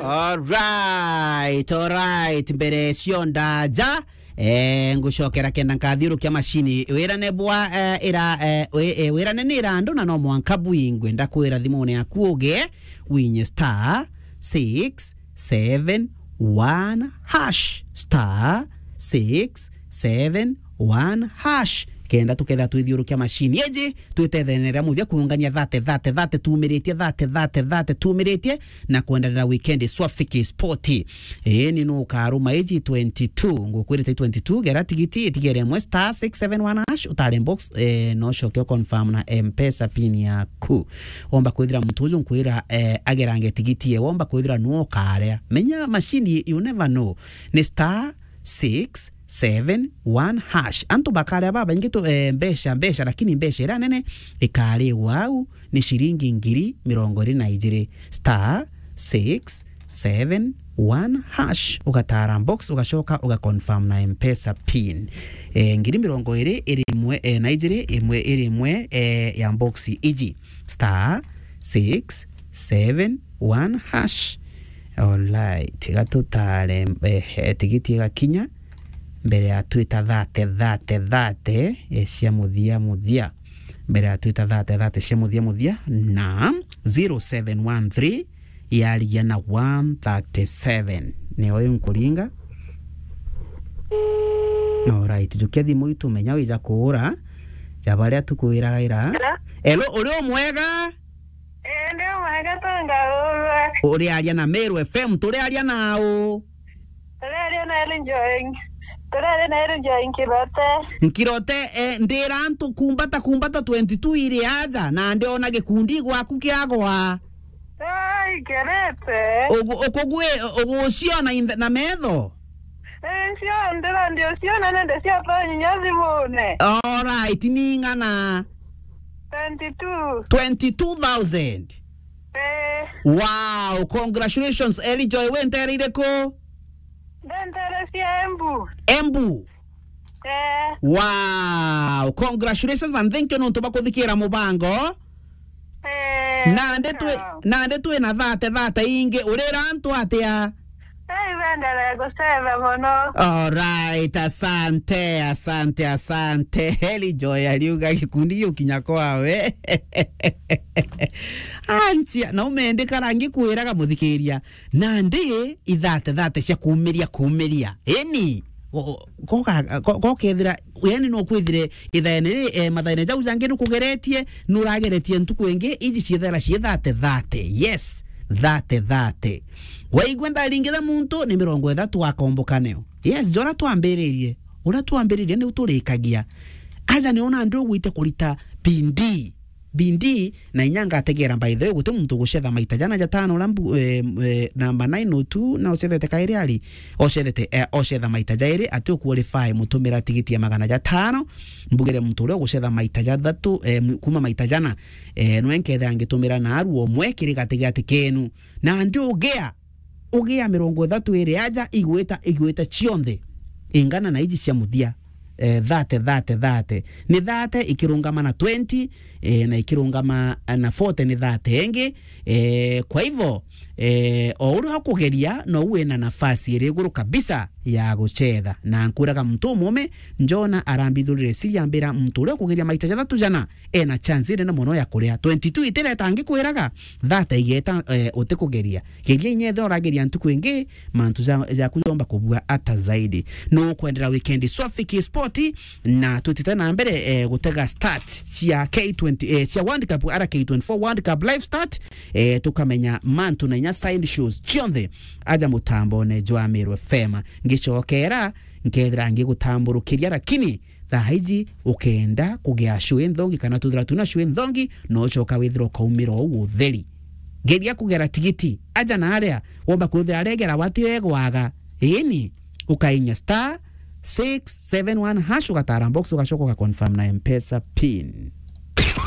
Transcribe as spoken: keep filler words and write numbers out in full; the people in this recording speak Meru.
Alright, alright, mbere cionda ja, eh, ngucokera kenda nkathiurukia macini. Wirane bwa, eh, ira, eh, wi-, eh, wirane ni irandu na no mwanka bwingwe. Ndakwira thimune yaku uge, winye star six seven one hash, star six seven one hash. Kenda tuketha twithiurukia macini iji, twitetheneria muthia kuungania thate, thate, thate, tumiritie, thate, thate, thate, tumiritie, na kwenderera weekend swafi ki sport. Ii, ni nukaruma iji twenty-two, ngukwirite twenty-two, gera tigiti, itigere imwe star six seven one hash, utare box, eh, no coke confirm na M-Pesa pin yaku. Womba kwithira muntu uju nkwira, eh, agerange tigiti ye, womba kwithira nuo ukarea. Menya machine, you never know. Ni star six seven one hash. Antu bakaria babaingi tu, eh, mbeca, mbeca, lakini mbeca iria nene ikariwa au ni ciringi ngiri mirongo iri na ijiri. Star six seven one hash, ugatara box, ugacoka ugaconfirm na M-Pesa pin. Eh, ngiri mirongo iri iri imwe, eh, na ijiri, imwe iri imwe, eh, ya box iji. Star six seven one hash. Alright, gatutare, eh, tigiti igakinya mbere ya twita thate, thate, thate, eh, cia muthia, muthia. Mbere ya twita thate, thate cia muthia, muthia, na zero seven one three yarigia na one thirty-seven. Ni uyu nkuringa. Alright, jukia thimu itu menya wija kuura. Ja baria tukwiraga ira. Hello? Hello, uri umwega? Ii, ndi umwega, tungaurwa. Uriaria na Meru F M, turiaria na u? Turaria na Ellen Joy. Turaria na Ellen Joy Nkirote. Nkirote, eh, ndira antu kumbata, kumbata twenty-two iri aja, na ndiona gikundi gwaku kiagwa. Ai, kerete. Ugu-, ukugwi-, uguciona in the, na metho? Eh, cio, ndira ndio ciona nende cia tonyinya thimune. Alright, ni ing'ana? Twenty-two. Twenty-two thousand? Eh. Wow, congratulations, Eli Joy. We ntere iriku? Ndentere cia Embu. Embu? Eh. Wow, congratulations and thank you nontu bwa kuthikira mubango. Eh, nandi twi, sawa. Nandi twi na thate, thate ingi, urira antu atia? Eh, ibenderee gucetha mono. Alright, asante, asante, asante. Eli Joy ariuga gikundi giukinya kwawe. Anchia, na umende karangi kwiraga muthikiria. Nandi ithate, thate cia kumiria, kumiria. Eni, go-, goka-, go-, gokethira, yani no kwithire ithaene ri, eh, mathaene jau jangi nukugeretie, nurageretie ntuku ingi, iji ciethera cii thate, thate. Yes, thate, thate. Waigua ndaringitha muntu ni mirongo ithatu akomboka neo. Yes, jora twambiririe. Uria twambiririe niu turikagia. Aja ni ona ndu ugwite kurita bindi. Bindi, na inya ngategera, by the way, guti muntu ugucetha maita jana jatano uria mbu-, eh, eh, namba nine oh two na ucethete kairi ari, ocethete, eh, ocetha maita jairi, ati uqualify mutumira tigiti ya magana jatano, mbugire muntu uria ugucetha maita jathatu, eh, m-, kuma maita jana, eh, nwe nkethira ngitumira na aru omwe kiri gatigati kenu. Na ndi ugea, ugea mirongo ithatu iri aja igwita, igwita cionthe ingana na iji cia muthia. Eh, thate, thate, thate. Ni thate ikirungama na twenty, eh, na ikirungama na forty ni thate ingi. Eh, kwa hivyo, eh, o uria ukugeria, no wina nafasi iri iguru kabisa ya gucetha. Na nkwiraga muntu umume, Jona arambithurire siri ambira muntu uria ukugeria maita jathatu jana, ena chance inene mono ya kuria. Twenty-two itireta ngikwiraga, thate igeta, eh, utikugeria. Geria inya ethira urageria ntuku ingi, mantu ja-, jaku jomba kubua ata zaidi. Nukwendera weekend swafi ki sport, na tutite na mbere, eh, gutega start cia K twenty, eh, cia World Cup, ara K twenty-four World Cup live start, eh, tukamenya mantu na inya side shows cionthe aja mutambone jwa Meru F M. Ngicokera, nkethira ngigutamburukiria, lakini thaa iji ukenda kugia show inthongi kana tuthira tuna show inthongi, no ucoka withira ukaumira uu utheri. Geria kugera tigiti, aja na aria womba kwithira aregera wati egwaga. Ini, ukainya star six seven one hash, ugatara box, ugacoka ugaconfirm na M-Pesa pin.